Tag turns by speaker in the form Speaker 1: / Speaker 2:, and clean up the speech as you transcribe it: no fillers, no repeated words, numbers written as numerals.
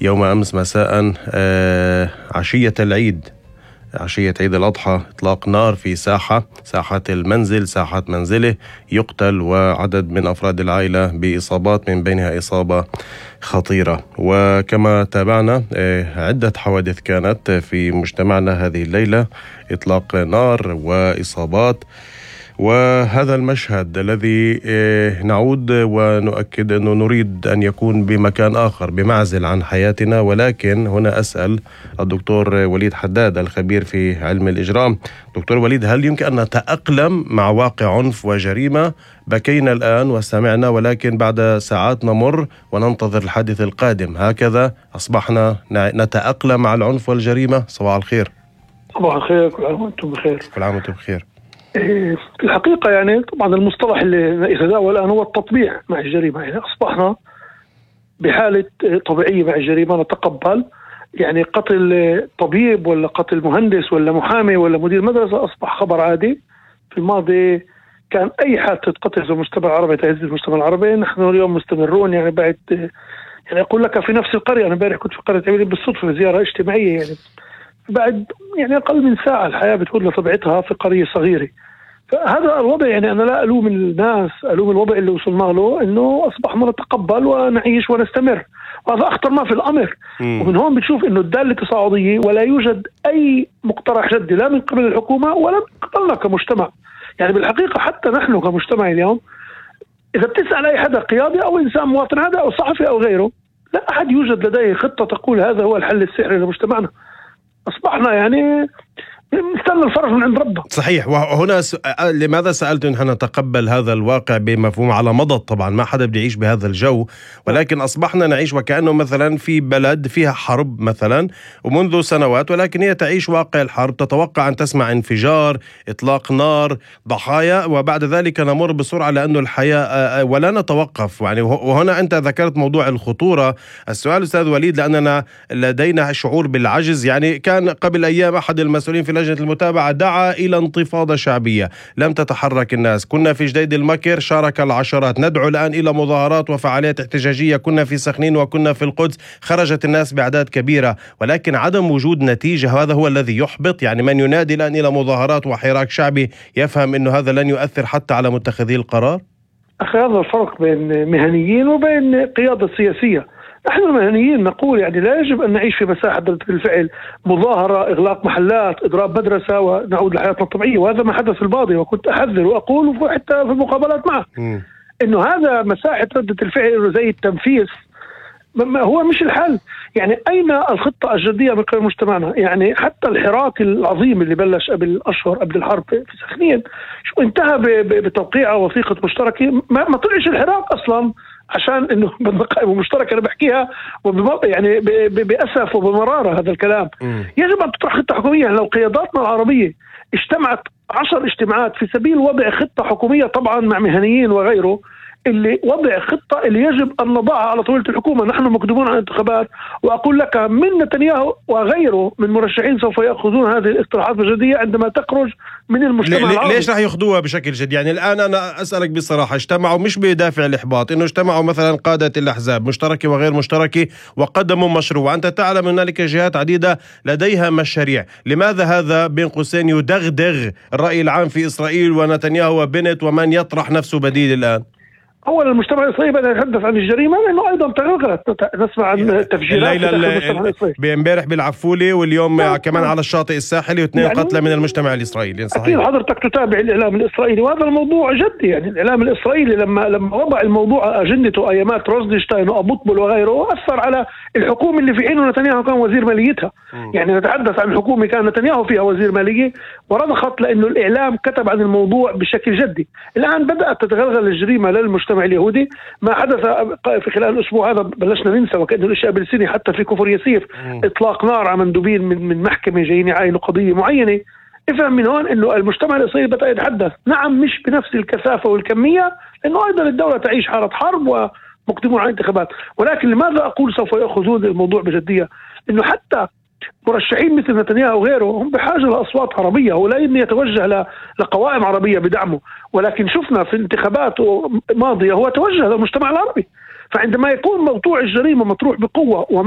Speaker 1: يوم أمس مساء عشية العيد، عشية عيد الأضحى، إطلاق نار في ساحة المنزل، ساحة منزله، يقتل وعدد من أفراد العائلة بإصابات من بينها إصابة خطيرة. وكما تابعنا عدة حوادث كانت في مجتمعنا هذه الليلة، إطلاق نار وإصابات. وهذا المشهد الذي نعود ونؤكد أنه نريد أن يكون بمكان آخر بمعزل عن حياتنا، ولكن هنا أسأل الدكتور وليد حداد الخبير في علم الإجرام. دكتور وليد، هل يمكن أن نتأقلم مع واقع عنف وجريمة؟ بكينا الآن وسمعنا، ولكن بعد ساعات نمر وننتظر الحادث القادم. هكذا أصبحنا نتأقلم مع العنف والجريمة؟ صباح الخير.
Speaker 2: صباح الخير، كل عام وأنتم بخير.
Speaker 1: كل عام وأنتم بخير.
Speaker 2: في الحقيقة يعني طبعا المصطلح اللي يتداول الآن هو التطبيع مع الجريمة. يعني أصبحنا بحالة طبيعية مع الجريمة، نتقبل يعني قتل طبيب ولا قتل مهندس ولا محامي ولا مدير مدرسة أصبح خبر عادي. في الماضي كان أي حادثة قتل في المجتمع العربي تهز المجتمع العربي. نحن اليوم مستمرون يعني بعد، يعني أقول لك في نفس القرية. أنا امبارح كنت في قرية عبيد بالصدفة في زيارة اجتماعية، يعني بعد يعني أقل من ساعة الحياة بتعود لطبيعتها في قرية صغيرة. فهذا الوضع، يعني أنا لا ألوم الناس، ألوم الوضع اللي وصلنا له، إنه أصبحنا نتقبل ونعيش ونستمر، وهذا أخطر ما في الأمر. ومن هون بتشوف إنه الدالة تصاعدية، ولا يوجد أي مقترح جدي لا من قبل الحكومة ولا من قبلنا كمجتمع. يعني بالحقيقة حتى نحن كمجتمع اليوم، إذا بتسأل أي حدا قيادي أو إنسان مواطن هذا أو صحفي أو غيره، لا أحد يوجد لديه خطة تقول هذا هو الحل السحري لمجتمعنا. أصبحنا يعني نستنى الفرج من عند ربنا.
Speaker 1: صحيح. وهنا لماذا سألت نحن نتقبل هذا الواقع بمفهوم على مضض؟ طبعا ما حدا بده يعيش بهذا الجو، ولكن أصبحنا نعيش وكأنه مثلا في بلد فيها حرب مثلا ومنذ سنوات، ولكن هي تعيش واقع الحرب، تتوقع أن تسمع انفجار، إطلاق نار، ضحايا، وبعد ذلك نمر بسرعة لأنه الحياة ولا نتوقف. يعني وهنا أنت ذكرت موضوع الخطورة. السؤال أستاذ وليد، لأننا لدينا شعور بالعجز. يعني كان قبل أيام أحد المسؤولين في لجنة المتابعة دعا إلى انتفاضة شعبية، لم تتحرك الناس. كنا في جديد المكر، شارك العشرات. ندعو الآن إلى مظاهرات وفعاليات احتجاجية. كنا في سخنين وكنا في القدس، خرجت الناس بأعداد كبيرة، ولكن عدم وجود نتيجة هذا هو الذي يحبط. يعني من ينادي الآن إلى مظاهرات وحراك شعبي يفهم أنه هذا لن يؤثر حتى على متخذي القرار.
Speaker 2: أخي، هذا الفرق بين مهنيين وبين قيادة سياسية. نحن المهنيين نقول يعني لا يجب أن نعيش في مساحة ردة الفعل، مظاهرة، إغلاق محلات، إضراب مدرسة، ونعود لحياتنا الطبيعية. وهذا ما حدث في الماضي، وكنت أحذر وأقول حتى في المقابلات معه إنه هذا مساحة ردة الفعل زي التنفيذ هو مش الحل. يعني أين الخطة الجدية من قبل مجتمعنا؟ يعني حتى الحراك العظيم اللي بلش قبل أشهر قبل الحرب في سخنين شو انتهى بتوقيع وثيقة مشتركة. ما طلعش الحراك أصلا عشان انه بالقائمة مشتركة. انا بحكيها يعني بأسف وبمرارة هذا الكلام. يجب ان تطرح خطة حكومية. يعني لو قياداتنا العربية اجتمعت 10 اجتماعات في سبيل وضع خطة حكومية، طبعا مع مهنيين وغيره، اللي وضع خطة اللي يجب أن نضعها على طاولة الحكومة. نحن مقدمون على الانتخابات، وأقول لك من نتنياهو وغيره من مرشحين سوف يأخذون هذه الاقتراحات بجدية عندما تخرج من المجتمع العربي.
Speaker 1: ليش رح يأخذوها بشكل جدي؟ يعني الآن أنا أسألك بصراحة، اجتمعوا مش بدافع الإحباط، إنه اجتمعوا مثلا قادة الأحزاب مشتركة وغير مشتركة وقدموا مشروع، وأنت تعلم أن هنالك جهات عديدة لديها مشاريع. لماذا هذا بين قوسين يدغدغ الرأي العام في إسرائيل ونتنياهو وبنت ومن يطرح نفسه بديل الآن؟
Speaker 2: أولا المجتمع الإسرائيلي بدأ يتحدث عن الجريمة، لأنه أيضا تغلغلت. نسمع عن تفجيرات
Speaker 1: امبارح بالعفولة، واليوم كمان على الشاطئ الساحلي، واثنين يعني قتلى من المجتمع الإسرائيلي. صحيح.
Speaker 2: أكيد حضرتك تتابع الإعلام الإسرائيلي، وهذا الموضوع جدي. يعني الإعلام الإسرائيلي لما وضع الموضوع أجندته أيامات روزنشتاين وأبوطبل وغيره، أثر على الحكومة اللي في حينه نتنياهو كان وزير ماليتها. يعني نتحدث عن حكومة كان نتنياهو فيها وزير مالية ورضخت، لأنه الإعلام كتب عن الموضوع بشكل جدي. الآن بدأت تتغلغل الجريمة للمجتمع اليهودي. ما حدث في خلال الأسبوع هذا بلشنا ننسى وكأنه الأشياء بالسنة. حتى في كفر يسير إطلاق نار على مندوبين من محكمة جايين يعاينوا قضية معينة. افهم من هون إنه المجتمع الإسرائيلي بدأ يتحدث، نعم مش بنفس الكثافة والكمية، لأنه أيضا الدولة تعيش حالة حرب ومقدمون على انتخابات. ولكن لماذا أقول سوف يأخذون الموضوع بجدية؟ إنه حتى مرشحين مثل نتنياهو وغيره هم بحاجة لأصوات عربية، هو لا يتوجه لقوائم عربية بدعمه. ولكن شفنا في انتخابات ماضية هو توجه للمجتمع العربي. فعندما يكون موضوع الجريمة مطروح بقوة